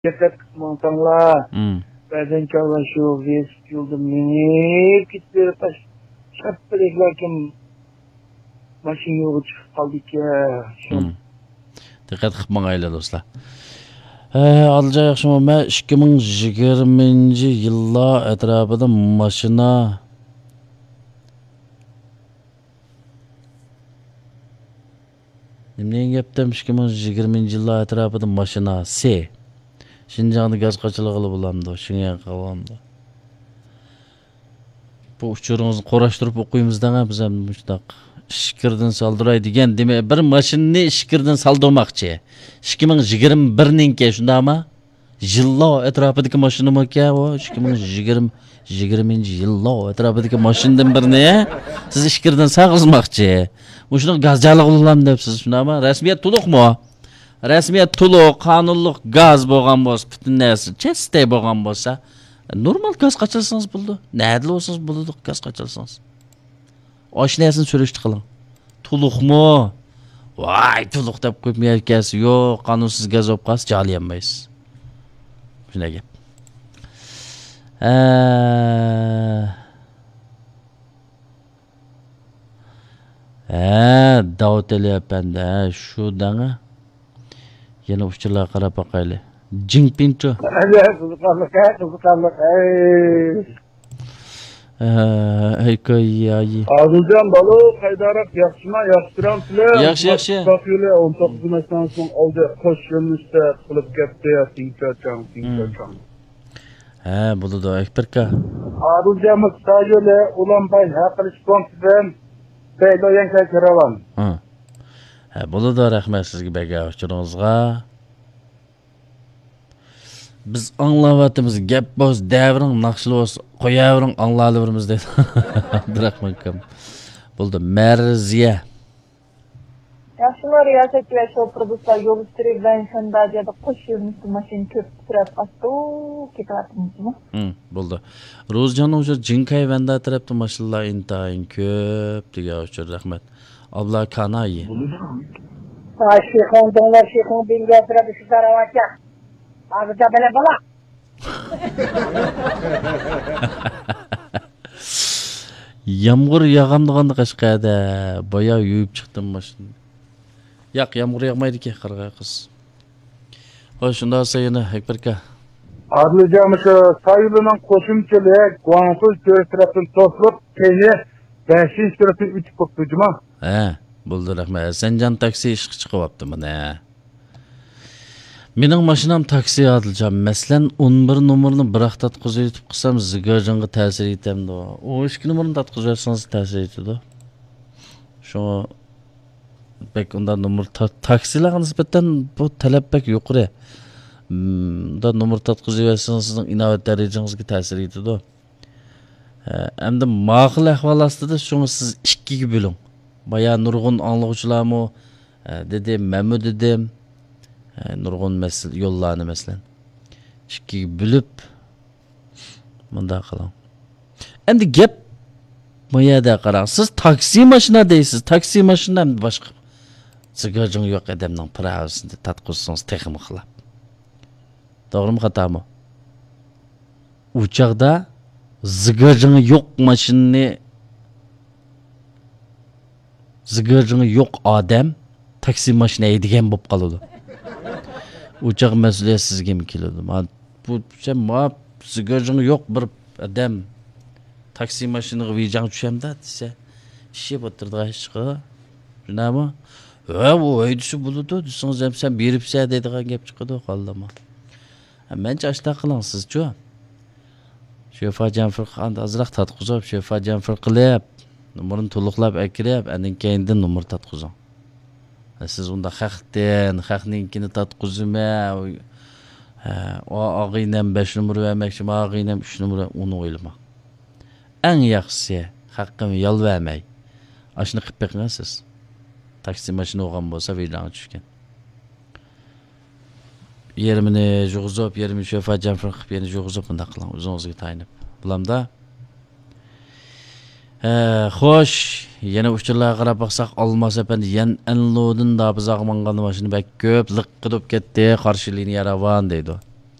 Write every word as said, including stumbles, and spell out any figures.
دىققەت قىلىپ ماڭساڭلار، مم. بەزەن چاغلار شۇ ۋېلىسىپىت يولدا مېڭىپ كېتىپ بېرىپ، شاپپىدەكلا كىم ماشىنا يولغا چىقىپ قالىدىكەن. شۇ مم. دىققەت قىلىپ ماڭايلى، دوستلار. ھە، ئادىلجان ياخشىمۇ؟ مەن ئىككى مىڭ يىگىرمىنچى يىللار ئەتراپىدا ماشىنا، نېمە دېگەن گەپتىم؟ ئىككى مىڭ يىگىرمىنچى يىللار ئەتراپىدا ماشىنا سى. شىنجاڭدا گاز قاچىلىغىلى بولامدۇ؟ شىنجاڭغا قالغاندا. بۇ ئۇچۇرىڭىزنى قۇراشتۇرۇپ ئوقۇيمىز دەڭە، بىز ھەم مۇشۇنداق ئىچكىرىدىن سالدۇراي دېگەن، دېمەك، بىر ماشىنىنى ئىچكىرىدىن سالدۇرماقچى. ئىككى مىڭ يىگىرمە بىرنىڭكى، شۇنداقمۇ؟ يىللار ئەتراپىدىكى ماشىنىمۇكەن ئۇ، ئىككى مىڭ يىگىرمە، يىگىرمىنچى يىللار ئەتراپىدىكى ماشىنىدىن بىرنى سىز ئىچكىرىدىن سالغۇزماقچى. مۇشۇنىڭ گاز جالىغۇلام دەپسىز، شۇنداقمۇ؟ رەسمىيەت تولۇقمۇ؟ رەسمىيەت تولۇق، قانۇنلۇق گاز بولغان بولسا، پۈتۈن نەرسە چىستەي بولغان بولسا، نورمال گاز قاچالسىڭىز بولىدۇ. نەدىلا بولسىڭىز بولىدۇ، گاز قاچالسىڭىز. ئاشۇ نەرسىنى سۈرۈشتە قىلىڭ. تولۇقمۇ؟ ۋاي، تولۇق دەپ قويۇپ مېڭىپ كەلسە، يوق، قانۇنسىز گاز بولۇپ قالسا، جالىيالمايسىز. شۇنداق گەپ. ھە. ھە، داۋۇت ئەلى ئەپەندى، ھە، شۇ دەڭە. يەنە ئۇچۇرلارغا قاراپ باقايلى. جىڭپىنچۇ. ئەلى، قىزىقارلىق، ھە، قىزىقارلىق، ھەي. ئە، ھېكايە. ئادىلجان بالۇ، قايداراق، ياخشىما، ياخشى تۇرامسىلەر؟ ياخشى، ياخشى. ئۇزاق يولى ئون توققۇز ماشىنىسىنىڭ ئالدى قوش يۆنىلىشتە قىلىپ كەتتى، تىڭچاچاڭ، تىڭچاچاڭ. ھە، بولىدۇ، ئەكبەركا. ئادىلجان، مۇشۇ يولى ئۇلانباي ھەق قىلىش پونكىتىدىن بەيلويەنگە كىرىۋال. ھە. ھە، بولىدۇ، رەھمەت سىزگە بەرگەن ئۇچۇرىڭىزغا. بىز ئاڭلاۋاتىمىز، گەپ بولسا دەۋېرىڭ، ناخشىلا بولسا قوياۋېرىڭ، ئاڭلاۋېرىمىز دەيدۇ. ئابدۇراخمان ئاكام. بولدى، مەرزىيە. ياخشىمۇ، رىياسەتچى ۋە شوپۇر دوستلار؟ يول ئۈستىدە ۋەنشەنداجيادا قوش يۆنىلىشتە ماشىنا كۆپ ئۇچراپ قاپتۇ، كېتىۋاتىمىزمۇ؟ ھىم، بولدى. روزىجاننىڭ شۇ جىنكاي ۋەندا تەرەپتە ماشىنىلار ئىنتايىن كۆپ دېگەن ئۇچۇر، رەھمەت. ئابلا كانايى. شىخۇڭ دۇڭلا شىخۇڭ بىڭگە تەرەپتە شۇ تەرەۋاتچە. ھازىرچە بىلە بالا. يامغۇر ياغامدىغاندا قەشقەردە بايا يۇيۇپ چىقتىم ماشىنىنى. ياق، يامغۇر ياغمايدىكەن، قارىغاي قىز. ھوي، شۇنداق دېسە يەنە ئەكبەركا. ئادىلجان، مۇشۇ سايلىنىڭ قوشۇمچىلىق گۇاڭسۇ چۆرىسى تەرەپتىن توسۇلۇپ، كېيىن بەشىنچى تەرەپتىن ئۆتۈپ بوپتۇ جۇما. ھە، بولدى، رەھمەت. ھەسەنجان تاكسى ئىشقا چىقىۋاپتۇ مانا. مېنىڭ ماشىنام تاكسى، ئادىلجان. مەسىلەن، ئون بىر نومۇرنى بىراق تارتقۇزۇۋېتىپ قىلسام، زىگاجىڭغا تەسىر يېتەمدۇ؟ ئون ئىككى نومۇرنى تارتقۇزۇۋەتسىڭىز تەسىر يېتىدۇ. شۇڭا بەك ئۇنداق نومۇر تا-، تاكسىلارغا نىسبەتەن بۇ تەلەپ بەك يۇقىرى. مم، ئۇنداق نومۇر تارتقۇزۇۋەتسىڭىز، سىزنىڭ ئىناۋەت دەرىجىڭىزگە تەسىر يېتىدۇ. ئە، ئەمدى ماقۇل ئەھۋال ئاستىدا شۇڭا سىز ئىككىگە بۆلۈڭ. بايا نۇرغۇن ئاڭلىغۇچىلارمۇ، ئە، دېدى، مەنمۇ دېدىم. ئە، نۇرغۇن مەسىلە، يوللارنى مەسىلەن، ئىككىگە بۆلۈپ، مۇنداق قىلىڭ. ئەمدى گەپ بۇ يەردە قاراڭ. سىز تاكسى ماشىنا دەيسىز. تاكسى ماشىنا ئەمدى باشقا. زىگاجىڭى يوق ئادەمنىڭ پىراۋىسىنى تارتقۇزسىڭىز تېخىمۇ خىلاپ. توغرىمۇ، خاتامۇ؟ ئۇ چاغدا زىگاجىڭى يوق ماشىنىنى، زىگاجىڭى يوق ئادەم تاكسى ماشىنا ھەيدىگەن بولۇپ قالىدۇ. ئۇ چاغ مەسئۇلىيەت سىزگىمۇ كېلىدۇ؟ ما، بۇ، سەن ما زىگاجىڭى يوق بىر ئادەم تاكسى ماشىنىغا ۋىجاڭ چۈشەمدۇ دېسە، ئىششىپ ئولتۇرىدىغان ئىشقا. شۇنداقمۇ؟ ھە، ئۇ ھەيدىسە بولىدۇ دېسىڭىز ھەم، سەن بېرىپسەن دەيدىغان گەپ چىقىدۇ، قالدىمۇ؟ ھە، مەنچە ئاشتاق قىلىڭ سىزچۇ؟ شۆفا جەنفىرقا ئاندىن ئازراق تارتقۇزۇپ، شۆفا جەنفىر قىلىپ، نومۇرنى تولۇقلاپ ئەكىرىپ، ئاندىن كەينىدىن نومۇر تارتقۇزۇڭ. ھە، سىز ئۇنداق خەقتىن، خەقنىڭكىنى تارتقۇزىمەن، ھە، ئا-، ئاغىنەم بەش نومۇر بەرمەكچى، ئاغىنەم ئۈچ نومۇر، ئۇنى ئويلىماڭ. ئەڭ ياخشىسى، خەققىمۇ يالۋەرمەي، ئاشۇنى قىلىپ بېقىڭە سىز. تاكسى ماشىنا بولغان بولسا، ۋىجاڭغا چۈشكەن. يېرىمىنى يۇغۇزۇپ، يېرىمىنى شۆفا جەنفىر قىلىپ، يەنە يۇغۇزۇپ، مۇنداق قىلىڭ، ئۆزىڭىزگە تايىنىپ. بولامدا؟ ھە، خوش. يەنە ئۇچۇرلارغا قاراپ باقساق، ئالماس ئەپەندى يەنئەنلۇدىن دابىزاغا ماڭغاندا ماشىنا بەك كۆپ، لىققىدە بولۇپ كەتتى، قارشى لىنىيە راۋان دەيدۇ.